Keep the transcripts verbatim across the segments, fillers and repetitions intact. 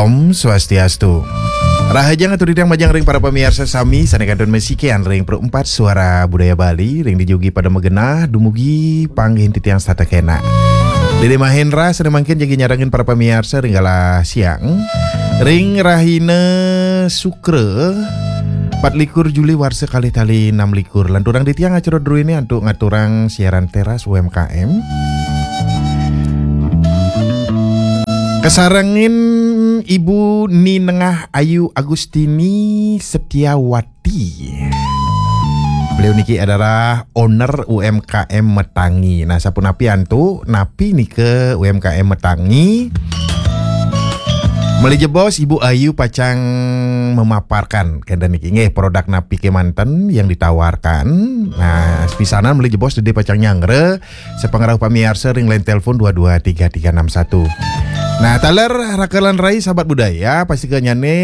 Om Swastiastu. Rahajeng atur titiang majeng ring para pamiarsa sami sané kantun masikian ring Pro Empat Suara Budaya Bali ring dijugi pada magenah dumugi panggihin titiang setata kénak. Dédé Mahendra sané mangkin jagi nyarengin para pamiarsa ring galah siang ring rahina Sukra, empat likur Juli warsa kalih tali enam likur. Lanturang titiang acara druéné antuk ngaturang siaran teras U M K M. Kasarengin Ibu Ni Nengah Ayu Agustini Setiawati. Beliau niki adalah owner U M K M Metangi. Nah, sapunapi antuk, napi nika U M K M Metangi? Malih jebos Ibu Ayu pacang memaparkan kénten niki nggih, produk napi kémanten yang ditawarkan. Nah, pisanan malih jebos dédé pacang nyanggra sapangrauh pamiarsa ring line telepon dua dua tiga tiga enam satu. Nah, taler raka lan rai sahabat budaya, pastikanyané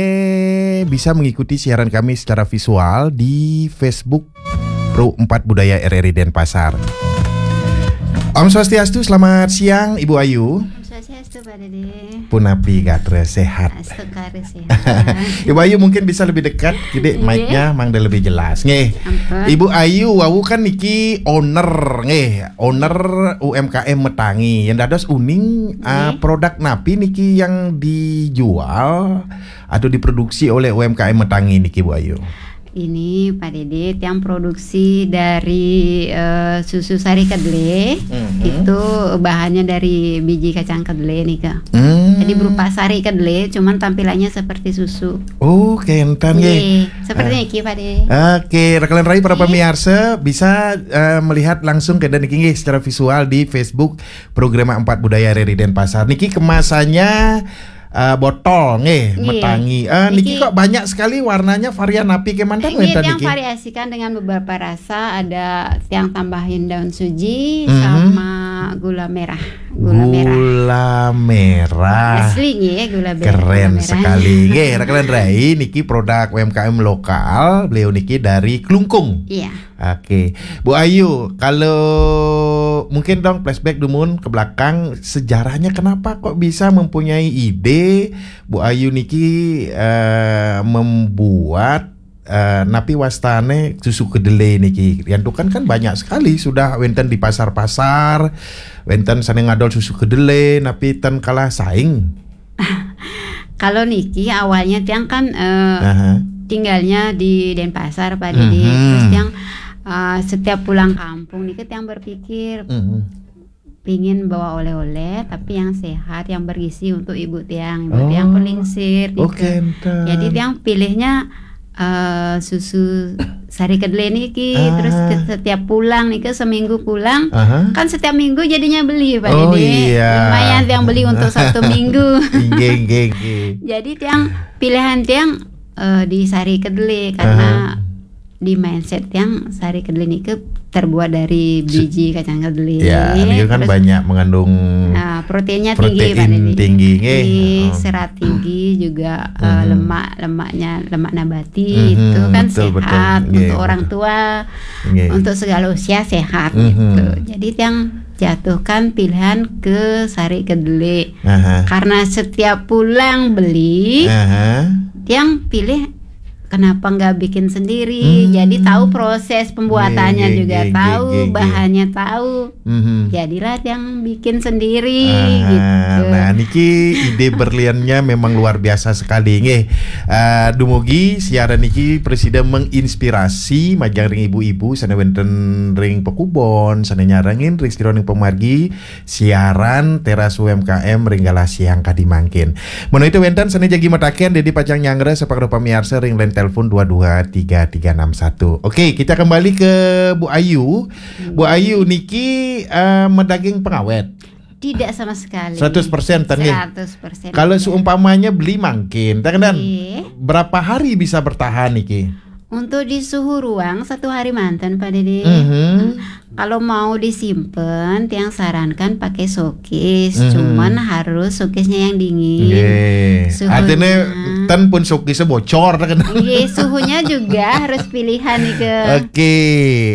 bisa mengikuti siaran kami secara visual di Facebook Pro Empat Budaya R R I Denpasar. Om Swastiastu, selamat siang Ibu Ayu. Om Swastiastu, Pak Dédé. Punapi gatra, sehat? Astungkara sehat. Ibu Ayu mungkin bisa lebih dekat, kidik, mic-nya mangda lebih jelas. Nggih. Ampun. Ibu Ayu wau kan niki owner, nggih, owner U M K M Metangi. Yang dados uning, ah, produk napi niki yang dijual atau diproduksi oleh U M K M Metangi niki, Bu Ayu? Ini, Pak Dédé, tiang produksi dari, eh, susu sari kedelai. Mhm. Itu bahannya dari biji kacang kedelai nika. Hmm. Jadi berupa sari kedelai, cuman tampilannya seperti susu. Oh, kénten nggih. Nggih, seperti niki, Pak Dédé. Oke, raka lan rai para pamiarsa bisa, eh, melihat langsung kénten niki nggih secara visual di Facebook Programa Empat Budaya R R I Denpasar. Niki kemasannya, eh, botol nggih, Metangi. Eh, niki kok banyak sekali warnanya, varian napi kémanten wénten niki? Variasikan dengan beberapa rasa, ada tiang tambahin daun suji sama gula merah. Gula merah. Gula merah. Asli nggih, gula merah. Keren sekali. Nggih, raka lan rai niki produk U M K M lokal, beliau niki dari Klungkung. Iya. Oke, Bu Ayu, kalau mungkin dong flashback dumun ke belakang, sejarahnya kenapa kok bisa mempunyai ide Bu Ayu niki, eh, membuat, eh, napi wastané susu kedelai niki? Yang tuh kan, kan banyak sekali sudah wénten di pasar-pasar, wénten sané ngadol susu kedelai, napi ten kalah saing. Kalau niki awalnya tiang kan, eh, tinggalnya di Denpasar, Pak Dédé. Terus tiang, eh, setiap pulang kampung niki tiang berpikir pingin bawa oleh-oleh, tapi yang sehat, yang bergizi untuk ibu tiang. Ibu tiang pun lingsir gitu. Jadi tiang pilihnya, eh, susu sari kedelai niki. Terus setiap pulang niki, seminggu pulang, kan setiap minggu jadinya beli, Pak Dédé. Lumayan tiang beli untuk satu minggu. Inggih, inggih, inggih. Jadi tiang pilihan tiang, eh, di sari kedelai karena di mindset tiang sari kedelai niki terbuat dari biji kacang kedelai. Ya, ini kan terus banyak mengandung, nah, proteinnya tinggi, Pak Dédé. Protein tinggi, nggih. Serat tinggi juga, eh, lemak, lemaknya, lemak nabati itu kan betul, betul, sehat untuk orang tua, untuk segala usia sehat gitu. Jadi tiang jatuhkan pilihan ke sari kedelai. Karena setiap pulang beli, tiang pilih kenapa nggak bikin sendiri? Jadi tahu proses pembuatannya juga, tahu bahannya, tahu. Jadilah yang bikin sendiri gitu. Nah, niki ide berliannya memang luar biasa sekali nggih. Eh, dumugi siaran niki prasida menginspirasi majeng ring ibu-ibu sané wénten ring pakubon, sané nyarengin ring sira ring pamargi siaran teras U M K M ring galah siang kadi mangkin. Menawi wénten sané jagi mataken, Dédé pacang nyanggra sapangrauh pamiarsa ring line telepon dua dua tiga tiga enam satu. Oke, kita kembali ke Bu Ayu. Bu Ayu niki, eh, madaging pengawet? Tidak sama sekali. Seratus persen ten nggih? Seratus persen. Kalau seumpamanya beli mangkin, ten, berapa hari bisa bertahan niki? Untuk di suhu ruang satu hari manten, Pak Dédé. Kalau mau disimpen, tiang sarankan pakai showcase. Cuman harus showcase-nya yang dingin. Nggih. Suhunya. Artinya ten pun showcase bocor, ten. Nggih, suhunya juga harus pilihan nika. Oke,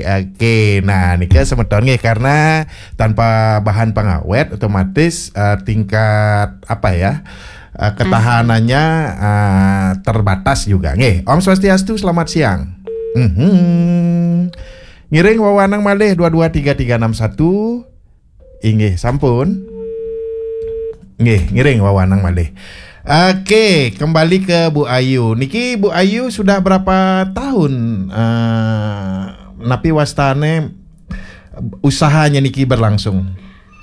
oke. Nah, nika semeton nggih, karena tanpa bahan pengawet otomatis, eh, tingkat apa ya? eh, ketahanannya eh, terbatas juga. Nggih, Om Swastiastu, selamat siang. Mhm. Ngiring wawanang malih dua dua tiga tiga enam satu. Inggih, sampun. Nggih, ngiring wawanang malih. Oke, kembali ke Bu Ayu. Niki Bu Ayu sudah berapa tahun eh, napi wastane usahanya niki berlangsung?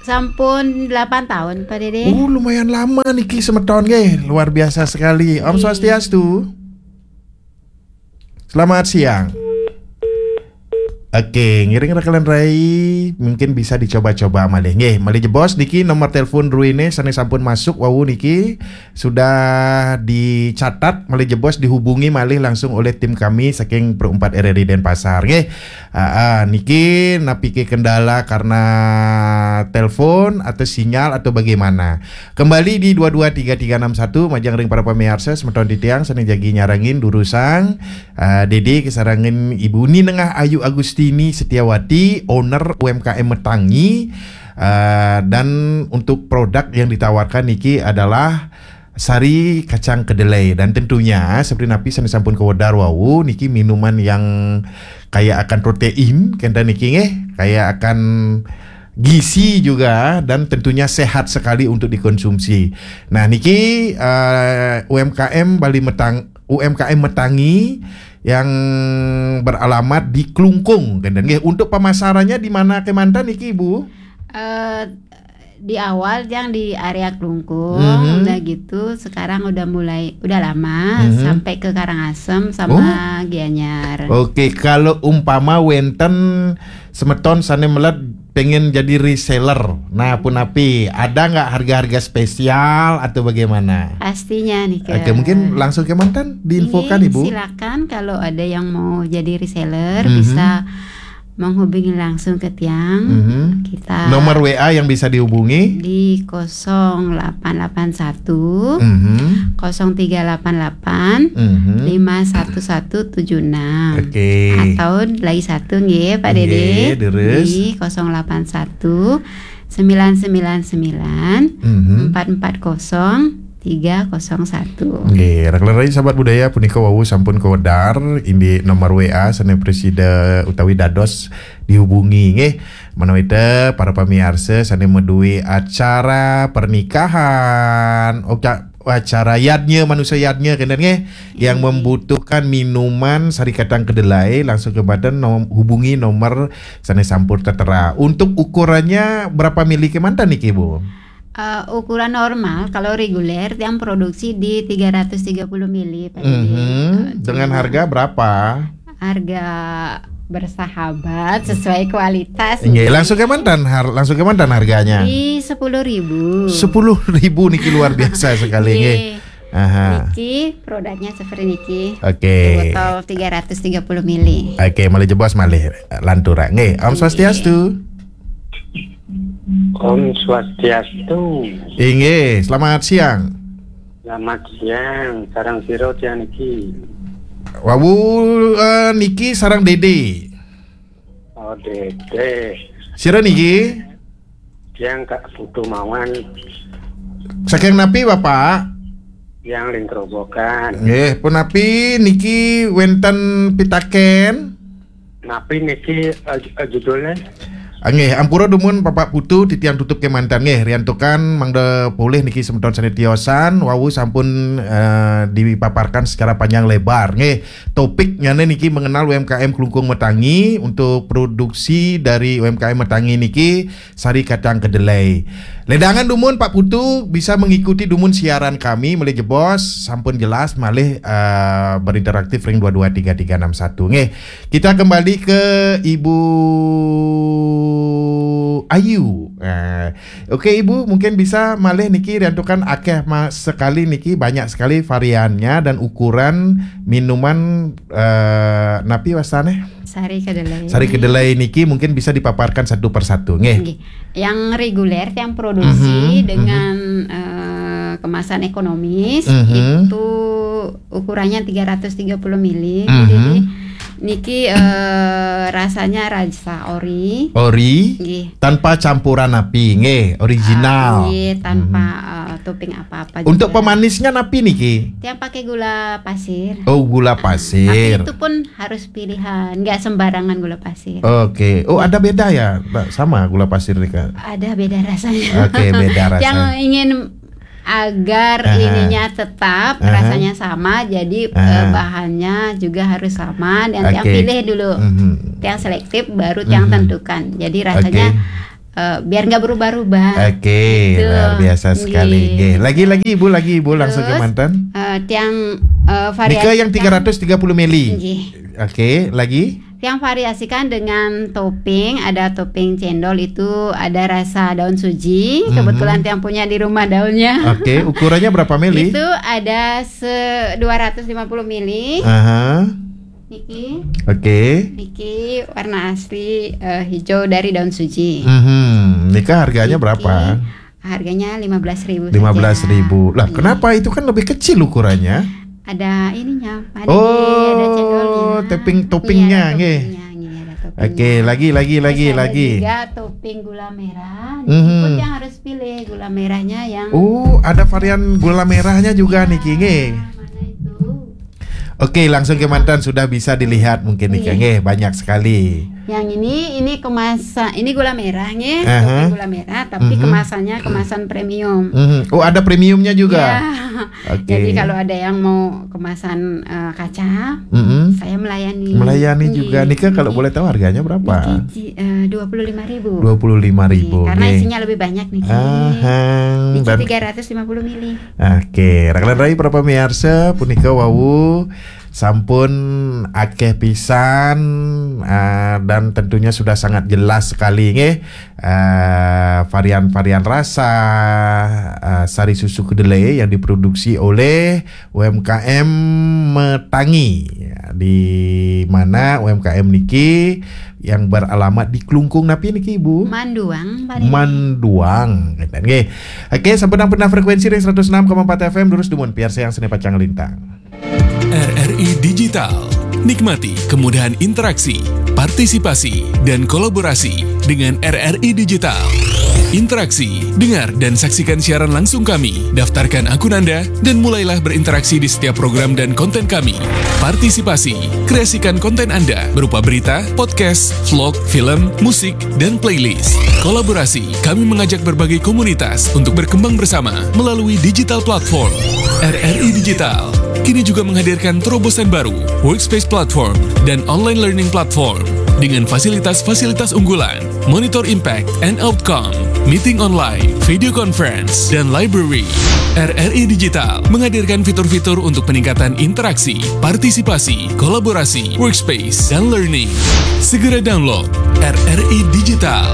Sampun delapan tahun, Pak Dede. Oh, lumayan lama niki semeton nggih. Luar biasa sekali. Om Swastiastu. Selamat siang. Oke, ngiring rakalan rai mungkin bisa dicoba-coba malih. Nggih, malih jebos niki nomor telepon ruine sane sampun masuk wau niki sudah dicatat, malih jebos dihubungi malih langsung oleh tim kami saking Pro empat R R I Denpasar. Nggih. Ah, ah, niki napike kendala karena telepon atau sinyal atau bagaimana? Kembali di dua dua tiga tiga enam satu, majeng ring para pamiarsa, semeton titiang sane jagi nyarengin durusang, ah, Dede kesarengan Ibu Ni Nengah Ayu Agustini Setiawati, owner U M K M Metangi, ah, dan untuk produk yang ditawarkan niki adalah sari kacang kedelai, dan tentunya seperti napi sane sampun kawedar wau niki minuman yang kaya akan protein kenten niki nggih, kaya akan gizi juga dan tentunya sehat sekali untuk dikonsumsi. Nah, niki eh, U M K M Bali Metang U M K M Metangi yang beralamat di Klungkung kenten nggih. Untuk pemasarannya di mana kemanten niki, Bu? Eh, di awal yang di area Klungkung, Mhm. udah gitu sekarang udah mulai, udah lama Mhm. sampai ke Karangasem sama Oh. Gianyar. Oke, kalau umpama wenten semeton sane melet pengen jadi reseller, nah punapi, ada nggak harga-harga spesial atau bagaimana? Pastinya nih, Oke, Kak. Mungkin langsung kemanten diinfokan, Ini Ibu. Silakan kalau ada yang mau jadi reseller Mhm. bisa menghubungi langsung ke tiang. Mhm. Kita Nomor W A yang bisa dihubungi? Di kosong delapan delapan satu, Mhm. kosong tiga delapan delapan, Mhm. lima satu satu tujuh enam. Oke. Atau lagi satu nggih, Pak Nggih, Dede. Deres. Di kosong delapan satu, sembilan sembilan sembilan, Mhm. empat empat kosong, tiga kosong satu. Nggih, rakalan rai sahabat budaya punika wau sampun kawedar indik nomor W A sane presida utawi dados dihubungi nggih. Menawi te para pamiarsa sane maduwe acara pernikahan, oka-, acara yadnya, manusia yadnya kenten nggih, yang Nggih. membutuhkan minuman sari kacang kedelai, langsung kemanten nom-, hubungi nomor sane sampun tertera. Untuk ukurannya berapa mili kemanten niki, Bu? Eh, ukuran normal, kalau reguler yang produksi di tiga ratus tiga puluh mili, Pak Dede. Mhm. Eh, Dengan cuma harga berapa? Harga bersahabat sesuai kualitas. Nggih, langsung kemanten har-, langsung kemanten harganya? Di sepuluh ribu. Sepuluh ribu niki luar biasa sekali nggih. Nggih. Aha. Niki produknya seperti niki. Oke. Botol tiga ratus tiga puluh mili. Oke, malih jebos malih lanturang. Nggih, Om Nggih. Swastiastu. Om Swastiastu. Inggih, selamat siang. Selamat siang, sareng sira tiang niki? Wau, eh, niki sareng Dede. Oh, Dede. Sira niki? Tiang Kak Putu mawon. Saking napi, Bapak? Tiang ring Grobogan. Nggih, punapi niki wenten pitaken? Napi niki, eh, eh, judulnya? Ah, nggih, ampura dumun Bapak Putu, titiang tutup kemanten nggih, riantukan mangda polih niki semeton sane tiosan, wau sampun, eh, dipaparkan secara panjang lebar nggih. Topiknyane niki mengenal U M K M Klungkung Metangi, untuk produksi dari U M K M Metangi niki sari kacang kedelai. Ledangan dumun Pak Putu bisa mengikuti dumun siaran kami malih jebos, sampun jelas malih, eh, berinteraktif ring dua dua tiga tiga enam satu. Nggih, kita kembali ke Ibu Ayu. Eh, oke Ibu, mungkin bisa malih niki riantukan akeh ma-, sekali niki, banyak sekali variannya dan ukuran minuman, eh, napi wastane? Sari kedelai. Sari kedelai niki mungkin bisa dipaparkan satu persatu, nggih. Nggih. Yang reguler, yang produksi Mhm, dengan, mhm. eh, kemasan ekonomis, Mhm. itu ukurannya tiga ratus tiga puluh mili. Mhm. Jadi niki, eh, rasanya rasa ori. Ori. Nggih. Tanpa campuran napi, nggih, original. Ah, nggih, tanpa, Mhm. eh, topping apa-apa Untuk juga. Pemanisnya napi niki? Yang pakai gula pasir. Oh, gula Tapi pasir. Itu pun harus pilihan, nggak sembarangan gula pasir. Oke. Oh, ada beda ya? Nah, sama gula pasir nih, Kak. Ada beda rasanya. Oke, beda rasa. Yang ingin agar Aha. ininya tetap Aha. rasanya sama, jadi Aha. eh, bahannya juga harus sama dan yang Oke. pilih dulu. Mhm. Yang selektif baru yang Mhm. tentukan. Jadi rasanya Oke. eh, biar nggak berubah-ubah. Oke, Gitu. luar biasa sekali. Nggih. Nggih. Lagi-lagi Ibu, lagi Ibu langsung ke Terus, mantan. Eh, tiang eh, Nika variasi yang tiga ratus tiga puluh mili. Nggih. Oke, lagi. Yang variasikan dengan topping, ada topping cendol itu ada rasa daun suji. Mhm. Kebetulan yang punya di rumah daunnya. Oke, ukurannya berapa mili? Itu ada se dua ratus lima puluh mili. Aha. Niki, Oke. niki warna asli eh, hijau dari daun suji. Mhm. Nika harganya Niki berapa? Harganya lima belas ribu. Lima belas ribu. Lah, Iya. Kenapa itu kan lebih kecil ukurannya? Ada ininya, Pak. Oh, Ada cendolnya. topping-toppingnya, Iya, ada nggih. toppingnya, nggih, ada toppingnya. Oke, lagi, lagi, lagi, Terus ada lagi. juga topping gula merah. Mhm. Itu yang harus pilih gula merahnya yang Oh, ada varian gula merahnya juga niki, nggih. Mana itu? Oke, langsung ke mantan sudah bisa dilihat mungkin nih, Iya. nggih, banyak sekali. Yang ini ini kemasan, ini gula merah nggih, Aha. topping gula merah, tapi Mhm. kemasannya kemasan premium. Mhm. Oh, ada premiumnya juga. Ya. Oke. Jadi kalau ada yang mau kemasan eh, kaca, Mhm. saya melayani. Melayani Nggih. juga. Nika kalau boleh tahu harganya berapa? Niki, eh, dua puluh lima ribu. Dua puluh lima ribu. Karena Nggih. Isinya lebih banyak nih. Ahang. Niki Dan tiga ratus lima puluh mili. Oke, rakan rai para pemirsa, punika wau sampun akeh pisan, ah, dan tentunya sudah sangat jelas sekali nggih, ah, varian-varian rasa, ah, sari susu kedelai yang diproduksi oleh U M K M Metangi, di mana U M K M niki yang beralamat di Klungkung napi niki, Ibu? Manduang paling. Manduang, ngeten nggih. Oke, sampun pernah frekuensi ring seratus enam koma empat F M, terus dumun piarsa yang seni pacang lintang. R R I Digital. Nikmati kemudahan interaksi, partisipasi, dan kolaborasi dengan R R I Digital. Interaksi, dengar dan saksikan siaran langsung kami. Daftarkan akun Anda dan mulailah berinteraksi di setiap program dan konten kami. Partisipasi, kreasikan konten Anda berupa berita, podcast, vlog, film, musik, dan playlist. Kolaborasi, kami mengajak berbagai komunitas untuk berkembang bersama melalui digital platform. R R I Digital kini juga menghadirkan terobosan baru, Workspace Platform dan Online Learning Platform dengan fasilitas-fasilitas unggulan, Monitor Impact and Outcome, Meeting Online, Video Conference, dan Library. R R I Digital menghadirkan fitur-fitur untuk peningkatan interaksi, partisipasi, kolaborasi, workspace, dan learning. Segera download R R I Digital.